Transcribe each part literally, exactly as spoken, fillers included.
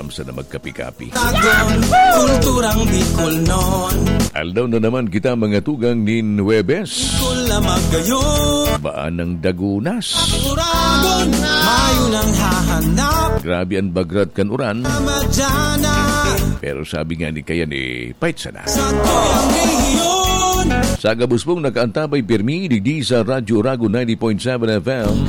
Sana magkapi-kapi. Tagon, kulturang Bicol non. Aldaw na naman kita, mga tugang, nin Huwebes. Bicol na magayon. Baan ng Dagunas. Uragon, mayo nang hahanap. Grabe ang bagrat kan uran. Madyana. Pero sabi nga ni kaya ni Pait sana. Sa tuyang rehiyon. Sa gabos pong nakaantabay pirmi, digdi sa Radyo Uragon ninety point seven F M.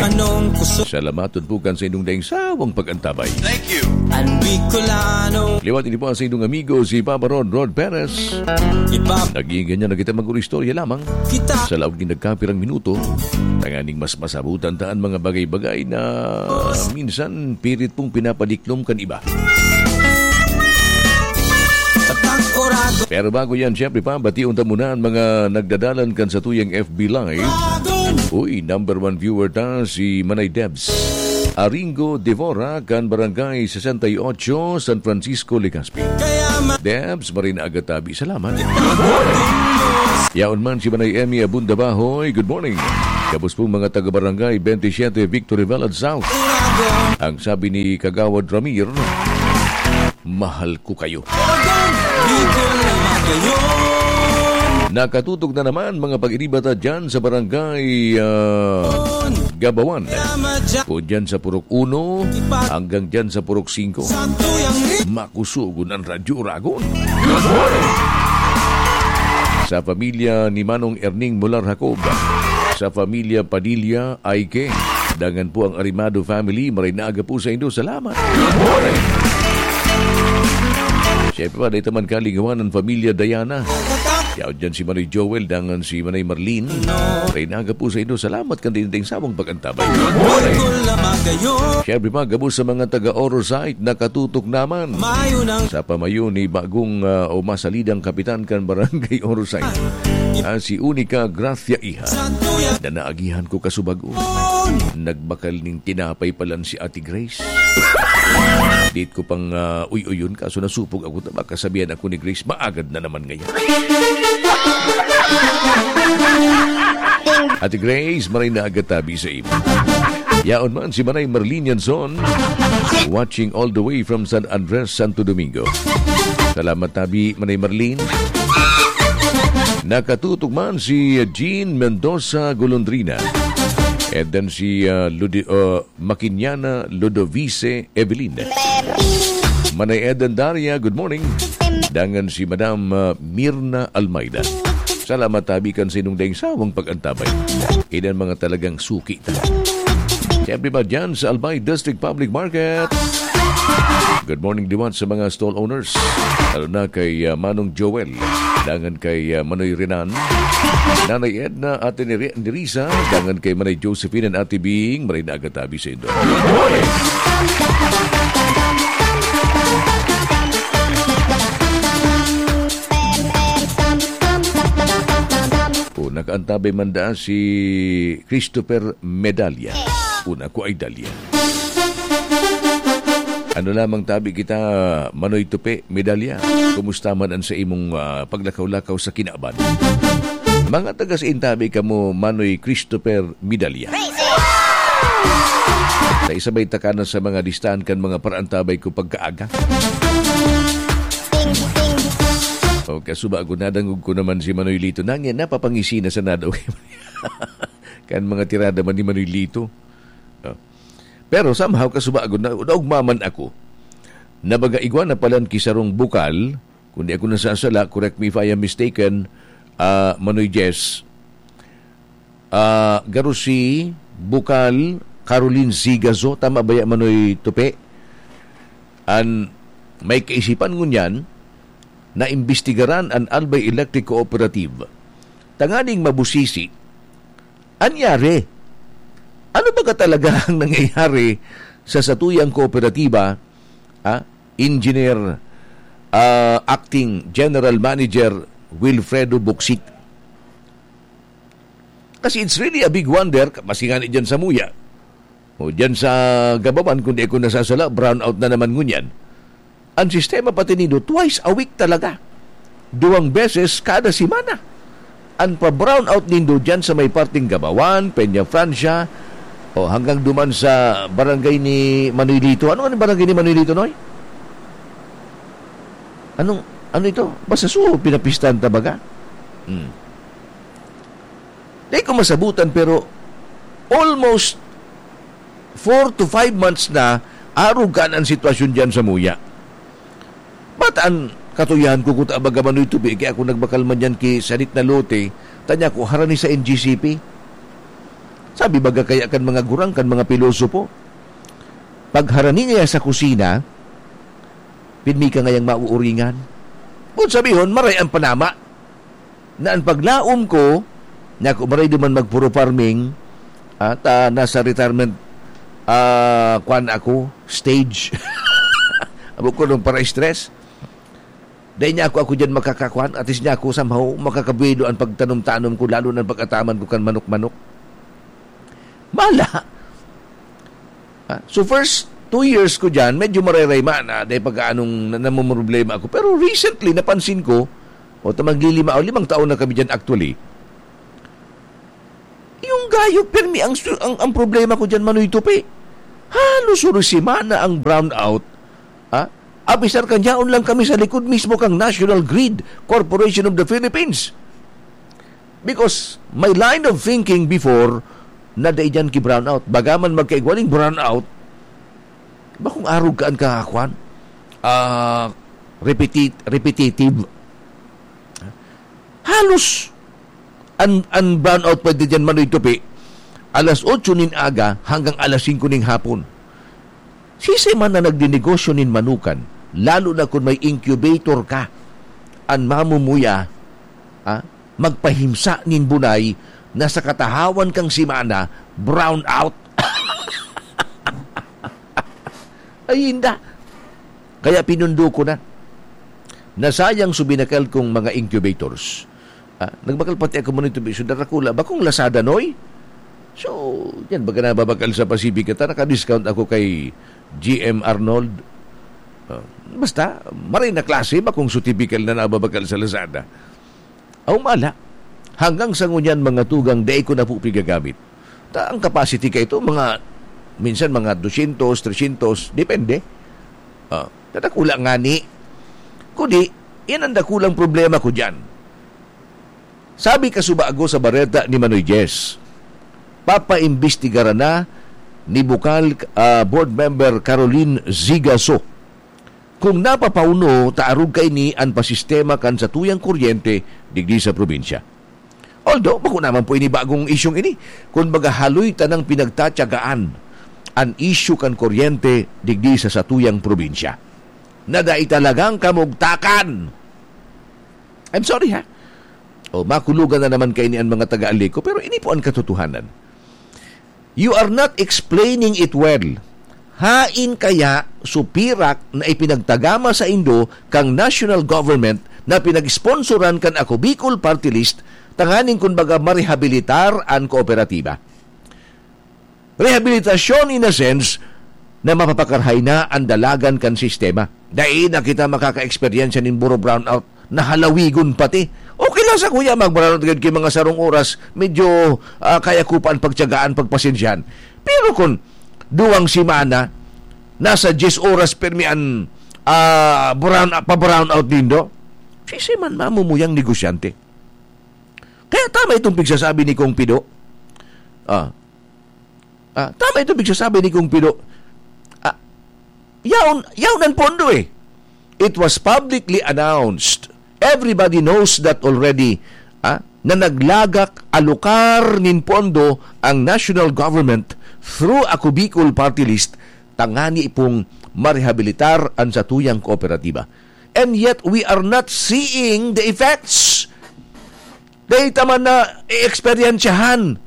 Anong kusog? Salamaton po kan sa inyong daing sawang pag-antabay. Thank you. Ang Bicolano. Liwat ini po sa inyong amigo, si Papa Rod, Rod Perez. Iba. Naging ganyan na kita mag-istorya lamang. Kita. Sa laog ni nagkapirang minuto, tanganing mas masabutan ta an mga bagay-bagay na minsan pirit pong pinapaliklom kan iba. Pero bago yan, syempre pa, bation ta muna ang mga nagdadalan kan satuyang F B Live. Uy, number one viewer ta, si Manay Debs Aringo Devora, kan Barangay sesenta y ocho, San Francisco, Legazpi. Debs, maray na aga tabi. Salamat. Yaon man si Manay Emmy Abunda Bahoy. Good morning. Gabos pong mga taga-barangay twenty-seven Victory Village South. Ang sabi ni Kagawad Ramir, "Mahal ko kayo." Nakatutok na naman mga pag-iriba ta dyan sa barangay, ah, Gabawan. O dyan sa Purok Uno hanggang dyan sa Purok Singko. Makusugon ang Radyo Uragon. Sa pamilya ni Manong Erning Mular Jacob, sa pamilya Padilla Aike, dangan po ang Arimado family, maray na aga po sa indo. Salamat. Siyempre pa, dahil man kalingawan ang pamilya Diana. Yaw dyan si Manoy Joel, dangan si Manay Marlene. Maray na aga po sa indo. Salamat kan dinding sawang pag-antabay. Siyempre pa, gabos sa mga taga Orosite, nakatutok naman. Sa pamayo ni bagong, ah, o masalidang kapitan kan Barangay Orosite. Ah, si Unica Gracia Iha. Na naagihan ko kasubago. Nagbakal ning tinapay palan si Ate Grace. Dit ko pang, ah, uy-uyon, kaso nasupog ako, ta baka sabihan ako ni Grace, maagad na naman ngayon. Ate Grace, maray na aga tabi sa imo. Yaon man si Manay Marlene Yanson, watching all the way from San Andres, Santo Domingo. Salamat tabi, Manay Marlene. Nakatutok man si Jean Mendoza Golondrina. And then si, ah, Ludi-, ah, Makinyana Ludovice Evelyn. Manay Eden Daria, good morning. Dangan si Madam, ah, Mirna Almeida. Salamat tabi kan sinong daing sawang pag-antabay. Inan mga talagang suki ta. Siyempre ba dyan sa Albay District Public Market? Good morning, liwat sa mga stall owners. Lalo na kay, ah, Manong Joel. Dangan kay, ah, Manoy Renan. Nanay Edna, Ate Nere-, Nerisa. Dangan kay Manay Josephine and Ate Bing. Maray na aga tabi sa indo. O, nakaantabay man daa si Christopher Medalla. Una ko ay Dalia. Ano lamang tabi kita, Manoy Tupe, Medalla? Kumusta man ang sa imong, ah, paglakaw-lakaw sa kinaban? Mga taga sa intabi kamo, Manoy Christopher Medalla. Sa isabay takanan sa mga listahan kan mga paraantabay ko pagkaaga. O, kasuba ako, nadangog ko naman si Manoy Lito. Nangya, napapangisi na sa nadaw. Kan mga tirada man ni Manoy Lito. No? Pero somehow, kasubagon na, naugma man ako. Na baga igwa na palan ki sarong bukal, kung di ako nasasala, correct me if I am mistaken, ah, Manoy Jess. Ah, garo si bukal Caroline Sigazo, tama ba ya, Manoy Tupe? An may kaisipan ngunyan na imbestigaran an Albay Electric Cooperative tanganing mabusisi an yari. Ano ba ka talaga ang nangyayari sa satuyang kooperatiba? Ah, Engineer, ah, Acting General Manager Wilfredo Buksik. Kasi it's really a big wonder, maski nga ni dyan sa Muya. O dyan sa Gabawan, kung di ako nasasala, brownout na naman ngunyan. Ang sistema pati nindo, twice a week talaga. Duwang beses kada semana. Ang pa-brownout nindo dyan sa may parting Gabawan, Peña Francia, Oh, hanggang duman sa barangay ni Manoy Lito. Ano ang barangay ni Manoy Lito, Noy? Anong, ano ito? Basta so, pinapistahan ta baga? Hmm. Di ko masabutan, pero almost four to five months na arog kan an sitwasyon diyan sa Muya. Ba't an katuyahan ko kuta baga Manoy Tupi, kaya ako nagbakal man diyan ki sadit na lote, tanya ko, harani sa N G C P? Sabi baga kaya kan mga gurang, kan mga pilosopo, pag harani ngaya sa kusina, pirmi ka ngayang mauuringan. Kun sabihon, maray ang panama. Na an paglaom ko, na ako maray duman magpuro farming, at, ah, nasa retirement, ah, kwan ako, stage. Abo ko nung para stress. Dahil niya ako, ako dyan makakakwan, at least niya ako somehow makakabuelo ang pagtanom-tanom ko, lalo na pag-ataman ko kan manok-manok. Mala! Ah, so first two years ko dyan, medyo marerayma na, dahil pag anong na-, namumroblema ako. Pero recently, napansin ko, o ta maglilima, o limang taon na kami dyan actually. Yung gayo, pirmi ang, su-, ang, ang problema ko dyan, Manoy Tupi. Halos suro semana ang brownout. Ah? Abisar kan yaon lang kami sa likod mismo kang National Grid Corporation of the Philippines. Because my line of thinking before, na dai dyan ki brownout. Bagaman magkaigwaling brownout, bakong arog ka an kakakwan? Ah, repetit-, repetitive. Halos an, an brownout pwede dyan, Manoy Tupi, alas otso nin aga hanggang alas singko nin hapon. Sisay man na nagdinegosyo nin manukan, lalo na kun may incubator ka, an mamumuya, ah, magpahimsa nin bunay na sa katahawan kang semana, brown out. Ay, inda. Kaya pinundo ko na. Nasayang so binakal kong mga incubators. Ah, nagbakal pati ako muna ito, so darakula. Bakong Lazada, Noy? So, yan, baga nababakal sa Pacific, ta naka-discount ako kay G M Arnold. Ah, basta, maray na klase, bakong so typical na nababakal sa Lazada. Aw, mala. Hanggang sa ngunyan, mga tugang, dai ko na po pigagamit. Ta, ang capacity kaito, mga, minsan mga dosyentos, tresyentos, depende. Ah, ta dakula ngani. Kundi, yan ang dakulang problema ko diyan. Sabi kasubago sa bareta ni Manoy Jess, papaimbestigaran na ni Bukal, ah, Board Member Caroline Zigaso kung napapauno ta arog kaini an pasistema kan satuyang kuryente digdi sa probinsya. Although, bako naman po ini bagong isyung ini. Kun baga, haloy tanang pinagtatyagaan an isyu kan kuryente digdi sa satuyang probinsya. Na dai talagang kamugtakan. I'm sorry, ha? O, makulugan na naman kaini an mga taga-Aleco, pero ini po ang katotohanan. You are not explaining it well. Hain kaya so pirak na ipinagtagama saindo kan national government na pinag-sponsoran kan Ako Bicol Party List tanganing kun baga marehabilitar an kooperatiba? Rehabilitasyon in a sense na mapapakarhay na an dalagan kan sistema. Dai na kita makaka-eksperyensya nin buro brownout na halawigon pati. Okay lang sa kuya, mag-brownout gayud ki mga sarong oras, medyo, ah, kaya ko pa an pagtiyagaan, pagpasensyahan. Pero kun duwang semana, nasa diyes oras pirmi an, ah, brown, pa-brownout nindo, sisay man mamumuyang negosyante. Kaya tama itong pigsasabi ni Kong Pido. Ah. Ah, tama itong pigsasabi ni Kong Pido. Ah, yaon, yaon ang pondo eh. It was publicly announced. Everybody knows that already, ah, na naglagak alokar nin pondo ang national government through Ako Bicol Party List tangani pong marehabilitar an satuyang kooperatiba. And yet, we are not seeing the effects. Dai ta man na-eksperyensyahan.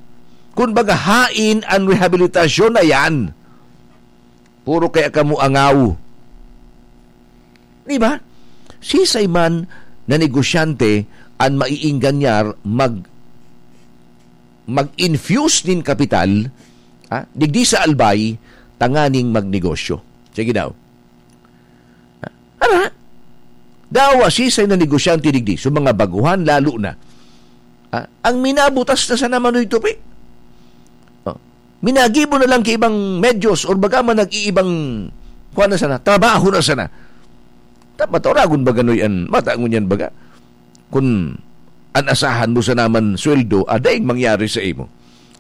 Kun baga, hain an rehabilitasyon na yan. Puro kaya kamo angaw. Di ba? Sisay man na negosyante an maiingganyar mag-, mag-infuse nin kapital, ha, digdi sa Albay, tanganing magnegosyo. Sige daw. Ara, dawa sisay na negosyante digdi, so mga baguhan lalo na. Ah, ang minabutas na sana Manoy Tupi. Oh. Minagibo na lang ki ibang medyos or baga man nag-iibang, kuwan na sana, trabaho na sana. Dapat oragon baga, Noy, an mata ngunyan baga. Kun an asahan mo sana man sweldo, ah, daing mangyari sa imo.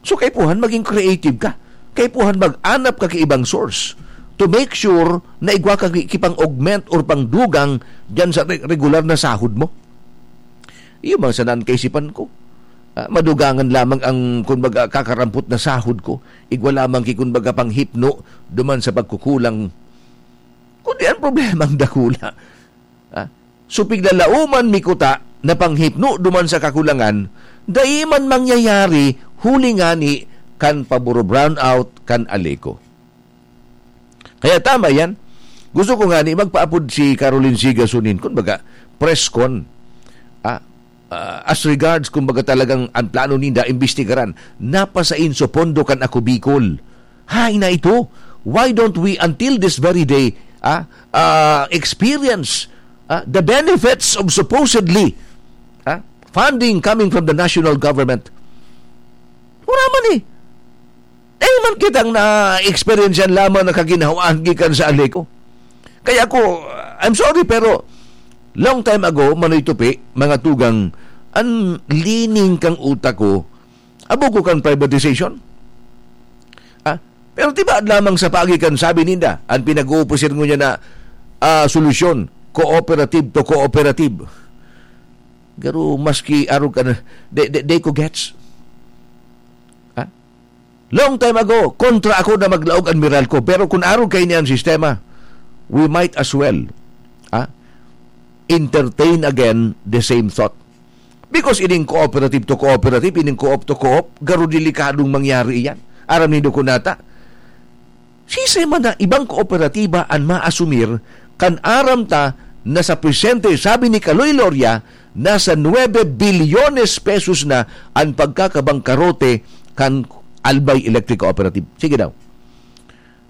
So, kaipuhan magin creative ka. Kaipuhan mag-anap ka ki ibang source to make sure na igwa ka ki-, ki pang-augment or pangdugang diyan sa re-, regular na sahod mo. Iyo man sana an kaisipan ko. Ah, madugangan lamang ang, kumbaga, kakarampot na sahod ko. Igwa lamang ki, kumbaga, panghipno duman sa pagkukulang. Kundi ang problema ang dakula. Ah, so, piglalauman mi kuta na panghipno duman sa kakulangan, dai man mangyayari huli ngani kan paburo-brownout kan Aleco. Kaya tama yan. Gusto ko ngani magpaapod si Caroline Sigasonin, kumbaga, press con. Ah, ah, as regards, kumbaga, talagang ang plano ninda, imbestigaran, napasain sa pondo kan Ako Bicol. Hay na ito. Why don't we, until this very day, ah, ah, experience, ah, the benefits of supposedly, ah, funding coming from the national government? Wala man eh. Eh, man kitang na-experience yan lamang na kaginhawaan gikan sa Aleco. Kaya ako, I'm sorry, pero long time ago, Manoy Tupi, mga tugang, ang lining kan utak ko, abo ko kan privatization. Ah, pero tibaad lamang sa paagi kan sabi ninda, ang pinag-uupusir ngunyan na, ah, solusyon, cooperative to cooperative. Garo maski arog ka na, de, de, de ko gets. Ha? Long time ago, kontra ako na maglaog an Meralco. Pero kun arog kaini an sistema, we might as well, ha, entertain again the same thought. Because ining cooperative to cooperative, ining co-op to co-op, garo delikadong mangyari iyan. Aram nindo kun nata, siisay man na ibang kooperatiba an maasumir kan aram ta na sa presente, sabi ni Kaloy Loria, nasa nuebe bilyones pesos na an pagkakabangkarote kan Albay Electric Cooperative. Sige daw.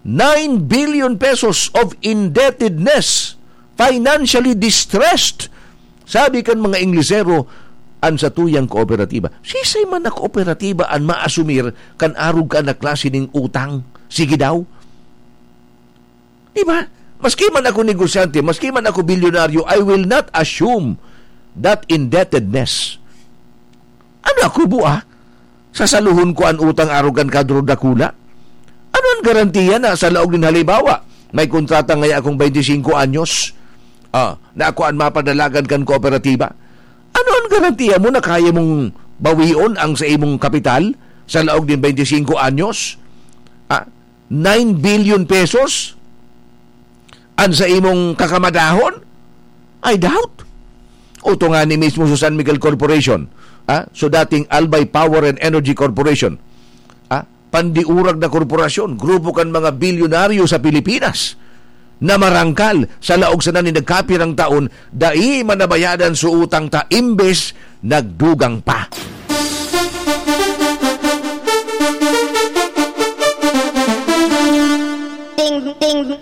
Nine billion pesos of indebtedness, financially distressed. Sabi kan mga Inglesero, an satuyang kooperatiba. Siisay man na kooperatiba an maasumir kan arog ka na klase ning utang? Sige daw. Di ba? Maski man ako negosyante, maski man ako bilyonaryo, I will not assume that indebtedness. Ano ako, bua? Sasaluhon ko an utang arog kan kadro dakula? Ano an garantiya na sa laog nin halimbawa, may kontrata ngaya akong twenty-five anyos, ah, na ako an mapadalagan kan kooperatiba? Ano an garantiya mo na kaya mong bawion ang sa imong kapital sa laog nin twenty-five anyos? Ah, nine billion pesos an sa imong kakamadahon? I doubt. Oto nga ni mismo sa San Miguel Corporation, ah, so dating Albay Power and Energy Corporation, ah, pandiurag na korporasyon, grupo kan mga bilyonaryo sa Pilipinas, na marangkal sa laog sana nin nagkapirang taon, dai man nabayadan so utang ta, imbes nagdugang pa. Ting, ting.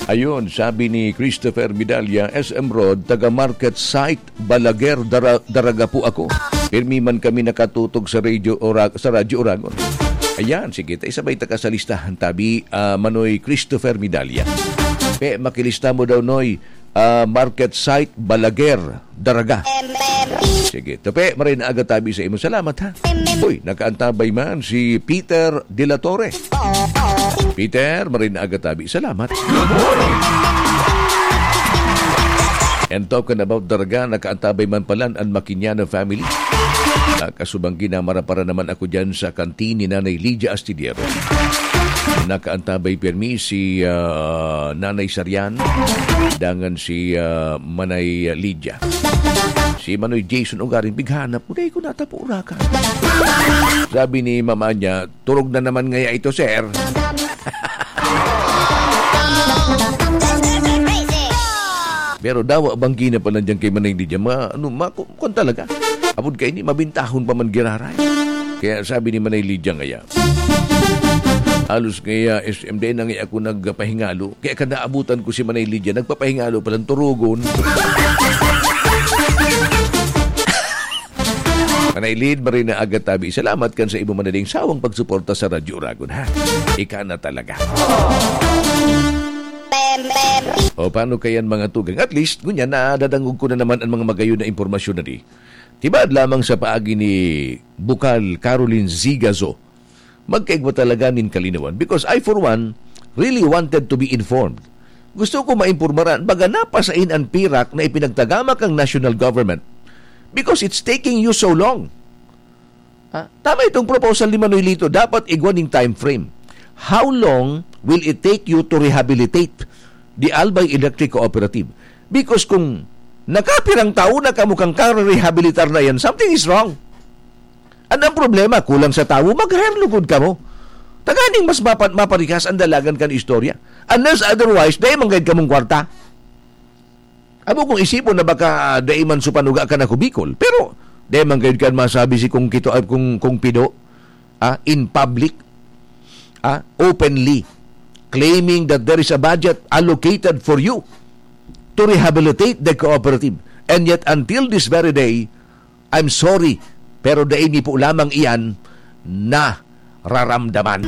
Ayun, sabi ni Christopher Medalla, S M Road, taga Market Site, Balaguer, Dara-, Daraga po ako. Pirmi man kami nakatutok sa radyo Ora-, sa Radyo Oragon. Ayan, sige, ta isabay ta ka sa listahan, tabi, ah, Manoy Christopher Medalla. Pe, makilista mo daw, Noy. Ah, Market Site, Balaguer, Daraga. Sige, Tupi, maray na aga tabi sa imo. Salamat, ha? Uy, nakaantabay man si Peter de la Torre. Peter, maray na aga tabi. Salamat. And talking about Daraga, nakaantabay man palan an Maquinano family. Ah, kasubang ginamara para naman ako dyan sa kantin ni Nanay Lydia Astillero. Nakaantabay pirmi si, ah, Nanay Sarian, dangan si, ah, Manay Lydia. Si Manoy Jason Ugaring, pighanap mo, dai ko natapo, Urakan. Sabi ni mama niya, "Turog na naman ngaya ito, sir." Pero dawa banggi na pala dyan kay Manay Lydia. Ma-, ano, ma-, ku-, kuwan talaga. Apod kaini, mabintahon pa man giraray. Kaya sabi ni Manay Lydia ngaya, halos kaya S M D na nga ako nagpapahingalo. Kaya kada abutan ko si Manay Lydia, nagpapahingalo palang turugon. Anay Lid, Marina Agatabi, salamat kan sa imo manaling sawang pagsuporta sa Radyo Uragon, ha? Ika na talaga. O, paano kayan, mga tugang? At least, ngunyan, nadadangog ko na naman ang mga magayon na impormasyon na di. Tibaad lamang sa paagi ni Bukal Caroline Zigazo. Magkaigwa talaga nin kalinawan. Because I, for one, really wanted to be informed. Gusto ko maimpormaran, baga napasain an pirak na ipinagtagama kang national government. Because it's taking you so long. Ha? Tama itong proposal ni Manoy Lito. Dapat igwa ning time frame. How long will it take you to rehabilitate the Albay Electric Cooperative? Because kung nakapirang taon na kamo kang karerehabilitar na yan, something is wrong. Ano ang problema? Kulang sa tawo? Mag-hire lugod kamo. Tanganing mas mapan-, maparikas ang dalagan kan istorya. Unless otherwise, dai man gayud kamong kwarta. Amo kung isipon na baka dai man supanuga ka na kubikol. Pero, dai man gayud kan masabi si Kung Kito, ah, Kung, Kung Pido, ah, in public, ah, openly, claiming that there is a budget allocated for you to rehabilitate the cooperative. And yet, until this very day, I'm sorry, pero dai mi po lamang iyan nararamdaman.